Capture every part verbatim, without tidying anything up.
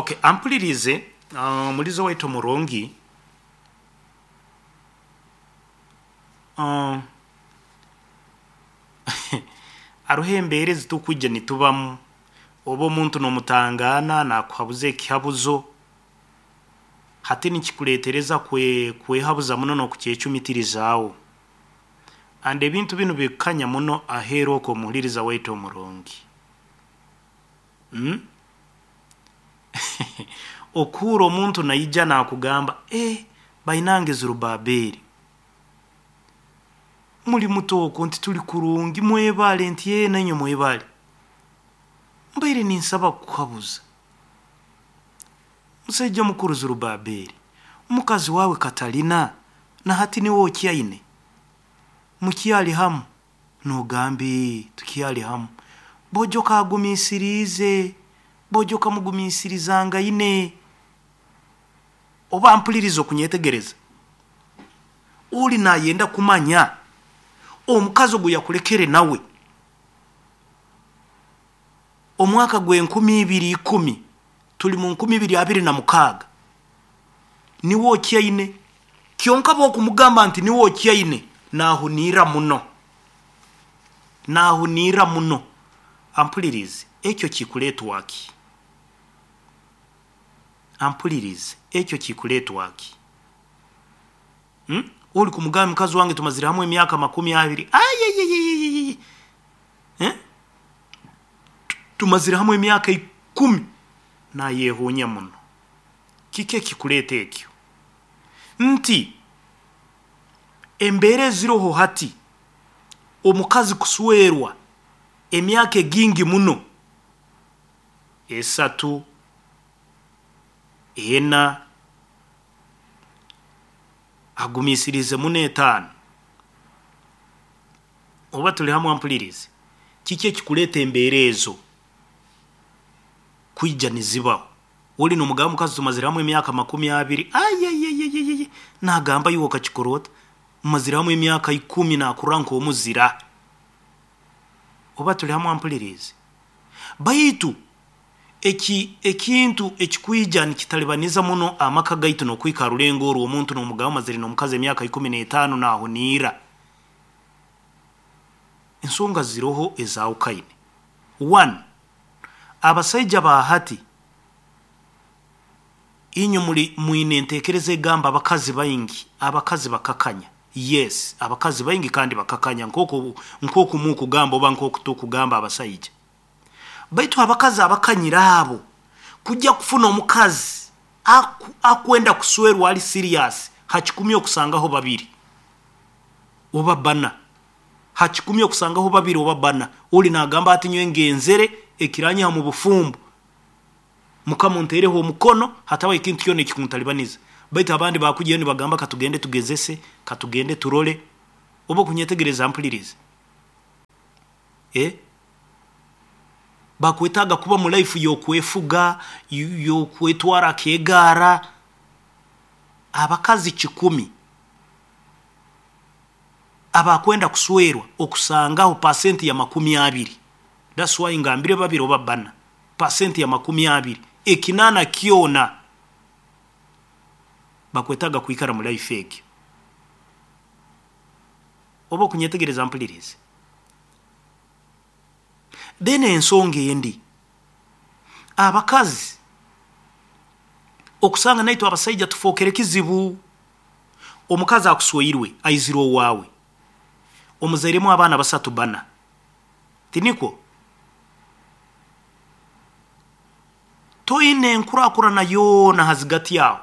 Okay, ampulirize uh, mulizo waitu murungi uh, aruho embeera ezitukwija nitubamu oba omuntu n'omutangana nakuhabuza ekihabuzo hati nikikuleetereza kwe, kwehabuza muno n'okukyecumitirizaaho and ebintu binu bikukanya muno aheeru oku omuhuliriza waitu omurungi mm? Okuhurra omuntu naija nakugamba, eh, bainange Zerubaberi muli muto oku nti tuli kurungi, mwebale, nti ee, nainywe mwebale, mbaire ninsaba kukuhabuza. Musaija mukuru Zerubaberi, mukazi waawe Katalina nahati niwe okyaine, mukyali hamu? Nogamba ee, tukyali hamu. Bojo kagumiisiriize, bojo kamugumiisirizangaine. Oba mpuliriza okunyetegereza, oli nayenda kumanya omukazi ogu yakulekere nawe omwaka gw'enkumi ibiri ikumi, tuli mu nkumi ibiri abiri na mukaaga, niwe okyaine? Kyonka bwokumugamba nti niwe okyaine, nahuniira muno, nahuniira muno. Ampulirize, ekyo kikuleetwa ki? Ampulirize, ekyo kikuleetwa ki? Hmm? Oli kumugamba mukazi wange tumazire hamu emyaka makumi abiri, ayayayayayay, eh? Tumazire hamu emyaka ikumi, nayehuunya muno. Kiki ekikuleeta ekyo? Nti embeera eziroho hati, omukazi kuswerwa emyaka egingi muno, esatu, ena, agumiisirize muno etaano. Oba tuli hamu ampulirize, kiki ekikuleeta embeera ezo kwija nizibaho? Oli nomugamba mukazi tumazire hamu emyaka makumi abiri, ayayayayay, nagamba iwe okakikora ota? Mumazire hamu emyaka ikumi, nakurora nk'omuzira. Oba tuli hamu ampulirize? Baitu eki ekintu ekikwija nikitalibaniza muno amaka gaitu n'okuhika ha rulengo oru, omuntu nomugamba omazire n'omukazi emyaka ikumi n'etaano nahuniira, ensonga ziroho ezaahukaine. One, abasaija ba hati inywe muli mwine enteekereza egamba abakazi baingi, abakazi bakakanya. Yes, abakazi baingi kandi bakakanya nkooku nkooku mukugamba oba nkooku tukugamba abasaija, baitu abakazi abakanyire abo kujya kufuna omukazi aku, akwenda kuswerwa ali serious, ha kikumi okusangaho babiri oba bana, ha kikumi okusangaho babiri oba bana. Oli nagamba ati nyowe ngenzere ekiranyiha mu bufumbo, mukama onteereho omukono, hatabaho ekintu kyona ekikuntalibaniza. Baitu abandi bakujyayo nibagamba katugende tugezese, katugende turole. Oba okunyetegereza mpulirize, eh? Bakwetaaga kuba mu life y'okwefuga, y'okwetwara akeegaara. Abakazi kikumi abakwenda kuswerwa okusangaho pasenti ya makumi abiri, that's why ngambire babiri oba bana, pasenti ya makumi abiri, ekinaana kyona bakwetaaga kwikara mu life egyo. Oba okunyetegereza mpulirize. Then ensonga endi, abakazi okusanga naitwe abasaija tufookere kizibu. Omukazi akusweirwe aizire owaawe, omuzairemu abaana basatu bana, tinikwo? Toine enkurakurana yoona hazigati aho,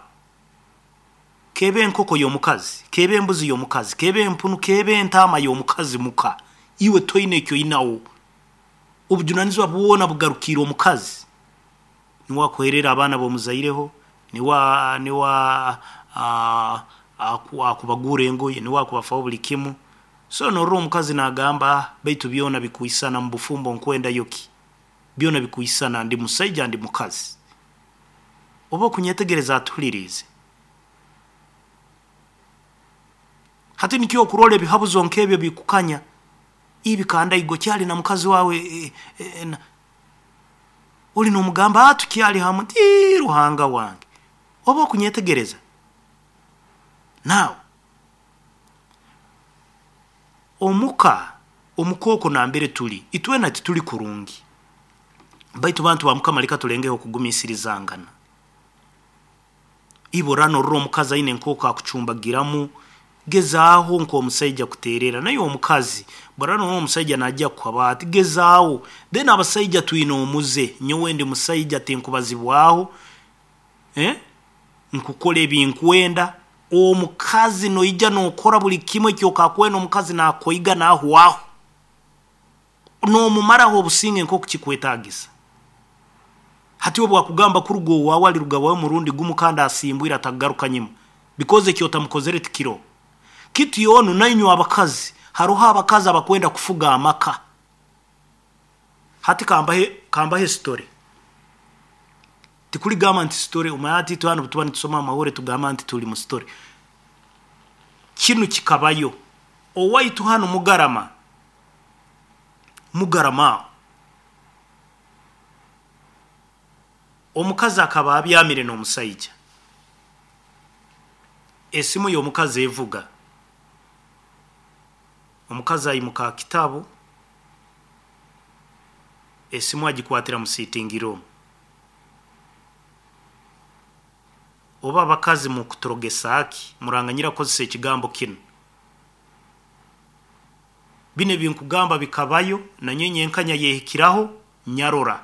kebe enkoko y'omukazi, kebe embuzi y'omukazi, kebe empunu, kebe entaama y'omukazi muka, iwe toine eki oinaho. Obujunanizibwa bwona bugarukiire omukazi, niwe akuherera abaana ab'omuzaireho, niwe niwe akubagurra engoye, niwe akubafaho buli kimu. So norora omukazi nagamba baitu byoona bikwisana mubufumbo, nkwendayo ki? Byoona bikwisana, ndi musaija ndi mukazi. Oba okunyetegereza atuhuliriize. Hati nikyo okurora ebihabuzo nk'ebyo bikukanya, ibi kandaigo kyali na mukazi wawe e, e, na. Oli n'omugamba atukyali hamu nti Ruhanga wange oba okunyetegereza. Now omuka omukooko nambere tuli itwena tituli kurungi, baitu bantu ba Mukama leka tulengeho okugumisirizangana. Ibora norora omukazi aine nk'oku akucumbagiramu, gezaaho nk'omusaija kuterera naye omukazi bora norora omusaija najja kukuhaba ati gezaaho. Then abasaija twine omuze, nyowe ndi musaija tinkubazibwaho, eh? Nkukora ebinkwenda. Omukazi noija nokora buli kimu ekyokakwenda, omukazi nakoiga nahwaho, nomumaraho obusinge nk'oku kikwetagisa. Hati obu akugamba kuruga owaawe aliruga wawe murundi gumu kandi asimbwire atagaruka nyuma, because ekyotamukozere tikiro kitu. Onu nainywe abakazi, haroho abakazi abakwenda kufuga amaka. Hati kambahe kambahe story, tikuligamba nti story omanya ati itwe hanu tuba nitusoma amahore tugamba nti tuli mu story. Kinu kikabayo owaitu hanu Mugarama, Mugarama aho omukazi akaba abyamire n'omusaija, esimu y'omukazi evuga, omukazi aimuka ha kitabu, esimu agikwatira mu sitting room. Oba abakazi mukuturogesaaki, muranganyira kukozesa ekigambo kinu. Binu ebinkugamba bikabayo nanyowe nyenkanya yehikiraho nyarora.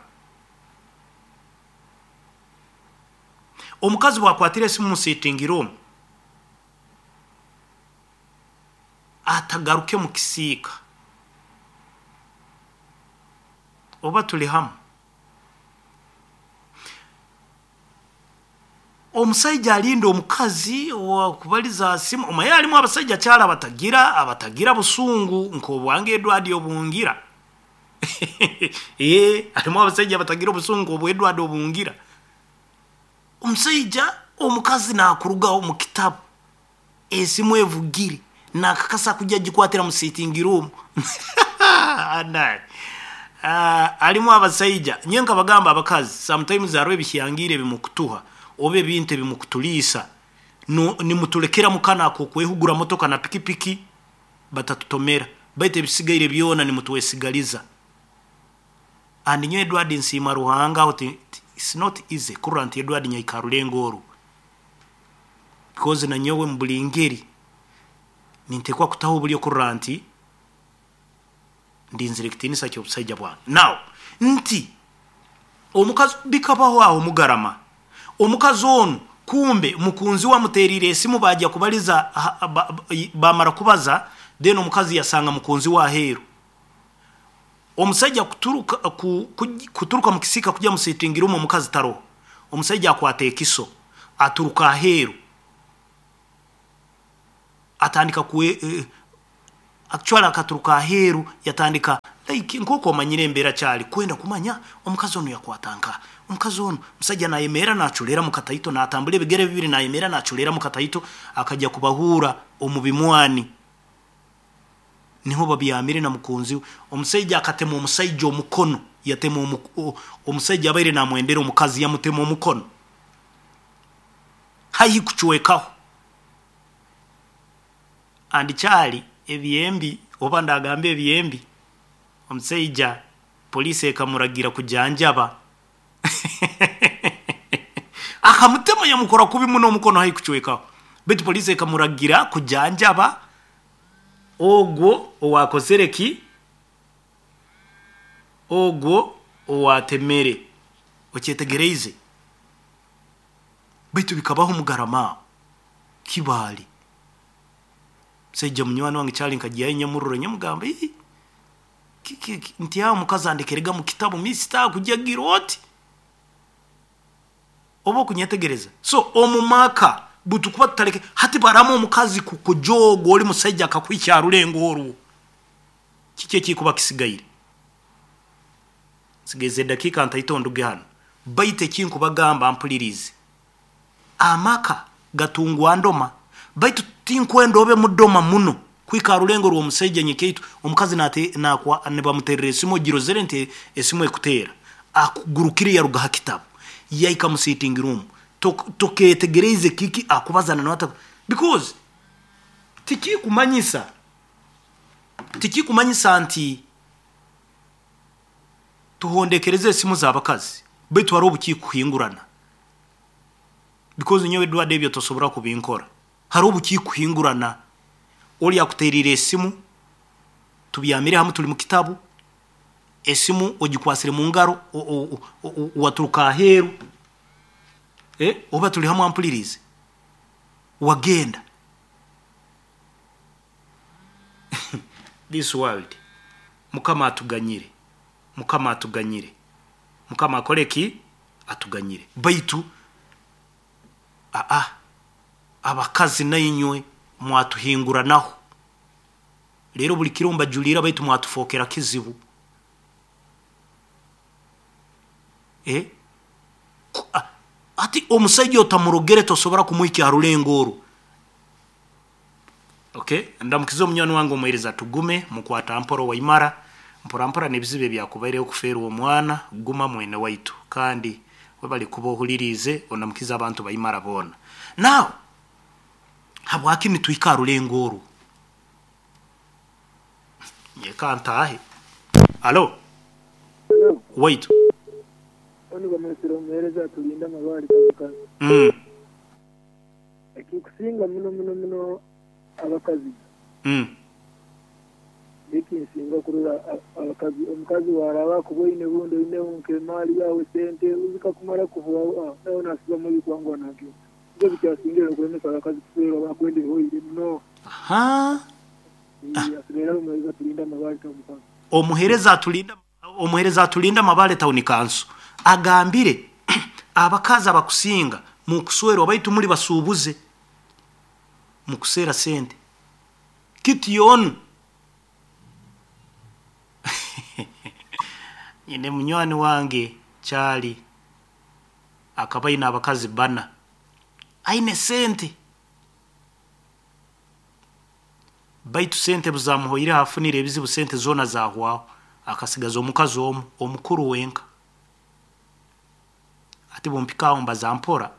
Omukazi bwakwatira esimu mu sitting room atagaruke mu kisiika. Oba tuli hamu? Omusaija alinda omukazi owakubaliza simu, omaye halimu abasaija kyali abatagira abatagira busungu nk'obwange Edward obungira. Ee, halimu abasaija abatagira obusungu nk'obwa Edward obungira. Omusaija omukazi nakurugaho mu kitabu, esimu evugire, nakakasa kujya gikwatira mu sitting room. Anaye halimu abasaija, nyowe nkabagamba abakazi sometimes hariho ebihyangire ebimukutuha oba ebintu ebimukutuliisa, no nimutulekera mukana ak'okwehugura motoka na pikipiki batatutomera, baitu ebisigaire byona nimutwesigaliza. And nyowe Edward nsiima Ruhanga aho, it's not easy kurora nti Edward nyaika rulengo oru, because nanyowe mu buli ngeri nintekwa kutaho obulyo kurora nti ndinzire ekitiinisa ky'obusaija bwange. Now nti omukazi bikabaho aho Mugarama, omukazi onu kumbe mukunzi we amuteriire esimu, bajya kubaliza, bamara kubaza, then omukazi yasanga mukunzi we aheeru. Omusaija kuturuka ku, kuturuka mu kisiika kujya mu sitting room, omukazi taroho. Omusaija akwata ekiso aturuka aheeru, atandika kwe eh, actually akaturuka aheeru yatandika like nk'oku omanyire embeera kyali kwenda kumanya omukazi onu yakwata nka omukazi onu. Omusajja nayemerra naculera mu kataito, natambura ebigere bibiri, nayemerra naculera mu kataito, akajya kubahuura omu bimwani niho babyamire na mukunzi we. Omusaija akatema omusaija omukono, yatema omusaija abaire namwendera omukazi, yamutema omukono haihi kucwekaho. Andi kyali ebyembi oba ndagamba ebyembi, omusaija poliisi ekamuragira kujanjaba akamutema yamukora kubi muno omukono haihi kucwekaho, baitu poliisi ekamuragira kujanjaba ogwo owakozere ki, ogwo owatemere. Okyetegereize? Baitu bikabaho Mugarama aho Kibaale. Musaija munywani wange kyali nkagyayo nyamurora, nyamugamba ii nti aho omukazi andekerega mu kitabu mister kujagira oti oba okunyetegereza. So omu maka butukuba tutaleke hati baramu omukazi kukujoga oli musaija akakuhikya ha rulengo orwo, kiki ekikuba kisigaire? Nsigaize edakiika ntaito nduge hanu, baitu ekinkubagamba mpulirize, amaka gatungwa ndoma, baitu tinkwenda obe mudoma muno kuhika ha rulengo rw'omusaija nyekyaitu omukazi nate nakwa nibamuterera esimu ogirozere nti esimu ekuteera Akugurukire yaruga ha kitabu yaika mu sitting room, toketegereze kiki akubazana na, because tikikumanyisa tikikumanyisa nti tuhondekereze esimu z'abakazi, baitu hariho obukikuhingurana, because nyowe Edward ebyo tosobora kubinkora. Hariho obukikuhingurana, oli akuterire esimu, tubyamire hamu, tuli mu kitabu, esimu ogikwasire mu ngaro, waturuka aheeru, eh, oba tuli hamu ampulirize, wagenda. This world, Mukama atuganyire, Mukama atuganyire, Mukama akole ki? Atuganyire. Baitu aa abakazi nainywe mwatuhinguranaho rero, buli kiro mbajulira, baitu mwatufokera kizibu. Eh? Ati omusajja otamurogere tosobora kumuhikya ha rulengo oru. Okay, ndamukiza omunywani wange omuhereza tugume mukwata mpora waimara mpora mpora n'ebizibu ebyakubaireho kufeerwa omwana, guma mwene waitu, kandi webali kuba ohuliriize ondamukiza abantu baimara boona. Now habwaki nitwika ha rulengo oru? Nyeka ntahe. Alo waitu. Mm. Ekikusinga muno muno muno abakazi. Mm. Ekinsinga kurora abakazi, omukazi waraba kuboine bundi oine nk'emaali yawe sente uzikakumara kuvuga nawe nasiba muri kwangwa nagyo. Ibyo bikyasingira okulemesa abakazi kuferwa bakwende hoire muno. Aha. Omuhereza atulinda omuhereza atulinda Mabale Town Council agambire abakazi abakusinga mukuswerwa baitu muri basubuze mukusera sente kitiyonu. Nyine munywani wange kyali akaba aine abakazi bana, aine sente, baitu sente buzamuhoire afunire ebizibu, sente zona zahwaho, akasigaza omukazi omu omukuru wenka. Ati bumpikaho mbaza mpora,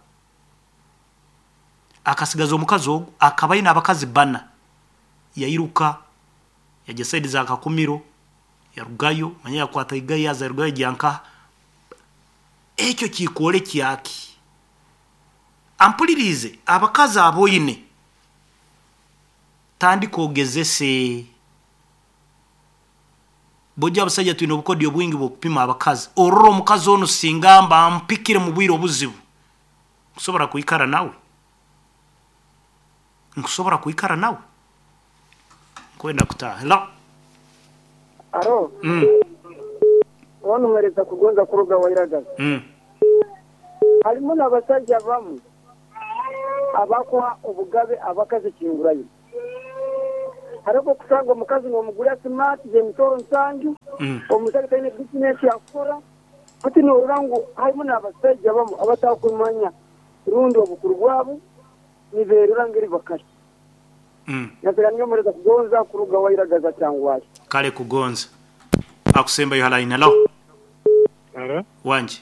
akasigaza omukazi ogu akaba aine abakazi bana, yairuka yajya saidi za Kakumiro, yarugayo manya yakwata igayi yaza yarugayo gyanka. Ekyo kikole kyaki? Ampulirize abakazi aboine tandika ogezese bojja abasajja twine obukodyo bwingi bw'okupima abakazi. Orora omukazi ono singamba ampikire mu bwire obuzibu, nkusobora kwikara nawe, nkusobora kwikara nawe, nkwenda kutaha. Hello. Aro. Mm. Wano mwereza kugonza kuruga wairagaza. Mm. Halimu n'abasajja bamu abakwa obugabe abakazi kingurayo. Hariho kusanga omukazi n'omugura smart zemitoro nsanju, mm. Omusajja taine business yakukora. Ati norora ngu harimu n'abasajja bamu abatakumanya rundi obukuru bwabo niberura ngeri bakashi. Mm. Natera niyo mwereza kugonza kuruga wairagaza cyangwa. Kale kugonza. Akusemba yo line. Hello. Hello. Wanje.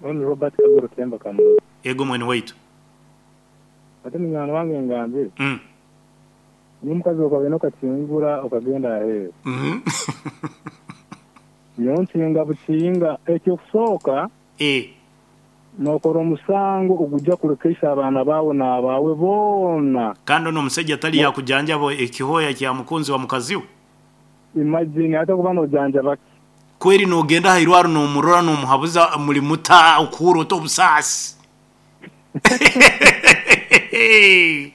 Ono Robert Kagoro Temba Kamulo. Ego mwene waitu. Ate munywani wange ngambire. Mm. N'omukazi okagenda okakingura okagenda aheeru. Mhm. Nyowe nkinga bukinga ekyokusooka Eh. nokora omusango ogujja kulekeisa abaana baawe n'abaawe boona. Kandi ono omusajja tali yakujanjaba ekihoya kya mukunzi wa mukazi we. Imagine ate kuba nojanjaba ki? Kweri nogenda hairwaro nomurora nomuhabuza muri muta okuhura obusaasi.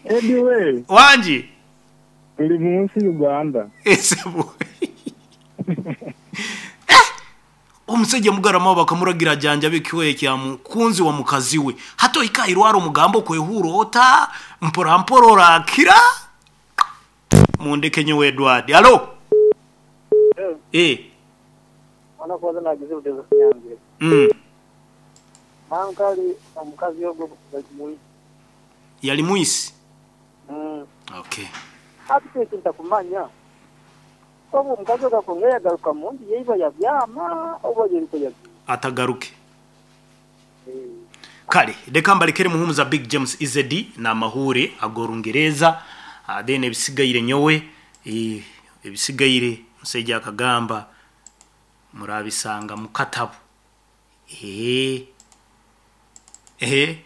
Anyway. Wanji. Tuli mu nsi Uganda. Esebu. Eh! Omusajja mugarama bakamuragira janjabe ekihoya kya mukunzi wa mukazi we. Hato ikairwaro mugambo kwehura ota mpora mpora orakira. Mundeke nyowe Edward. Hello. Eh. Wana kwanza nagize utezo kunyanzire. Mm. Mankali omukazi yogo bali Yali muisi. Mm. Okay. Ati kinta kumanya. Obu omukazi akakongera yagaruka mu nju yeiba yabyama oba yeriko yabyama. Atagaruke. Kale reka mbalekere Muhumuza Big James Izedi n'amahure ag'Orungereza. uh, then ebisigaire nyowe, eh, ebisigaire musajja akagamba murabisanga mu katabu. Ehe, ehe,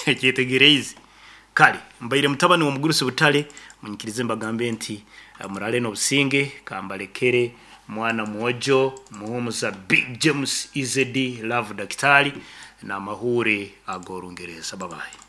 kyetegereize. Kale mbaire mutabani w'omugurusi Butale, munyikirize mbagambe nti eh, murale n'obusinge. Kambalekere mwana mwojo Muhumuza Big James Izedi Love Daktari n'amahure ag'Orungereza. Babaye.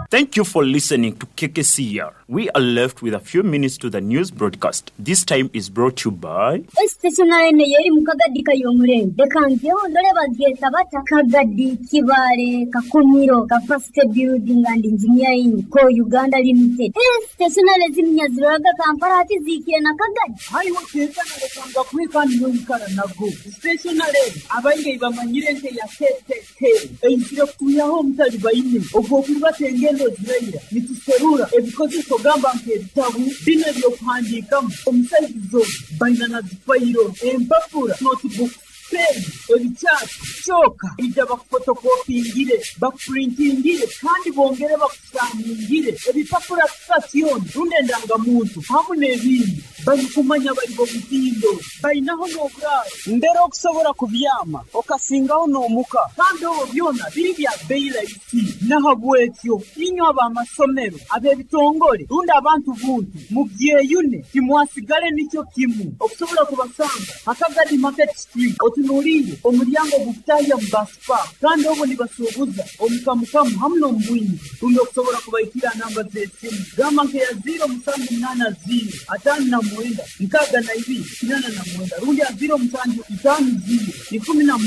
Thank you for listening to K K C R. We are left with a few minutes to the news broadcast. This time is brought to you by Stationary yeri mu Kagadi kayomurenge. Reka ngeho ndore bageta bata Kagadi Kibare Kakumiro Capacity Building and Engineering Co Uganda Limited. Stationary ziminyaziraga Kampala ati zikiye na Kagadi. Haiwo tekana lekanga kwikani n'omukara nago. Stationary abainge bamanyire nte ya K K K. Eyisire kutuyaho omutali bayine. Ogwo kuba engendo zirayira nituserura ebikozeso gamba nk'ebitabu bino ebyokuhandiikamu omusaizizo baina na zifayiro empapura notebook pen ebikyapa kyoka ija bakufotokopingire bakupurintingire kandi bongere bakusaningire ebipapura sitasioni rundi endangamuntu hamu n'ebindi barikumanya bari bo mutindo bainaho n'oburaaro mbere okusobola kubyama okasingaho n'omuka kandi obwo byona biri bya bbeeyi rahisi. Nahabwekyo inywe ab'amasomero ab'ebitongole rundi abantu buntu mubyeyune timwasigale nikyo kimu okusobola kubasanga Akagadi Market Street otunuulire omulyango gukutahya mu basipa kandi obwo nibasuubuza omukamukamu hamu n'omubwingi rundi okusobola kubaikira namba z'esimu gamba nkeya ziro musanju munaana ziro ataano na mwenda nkaaga na ibiri kinana na mwenda rundi ya ziro musanju itaano ziro ikumi na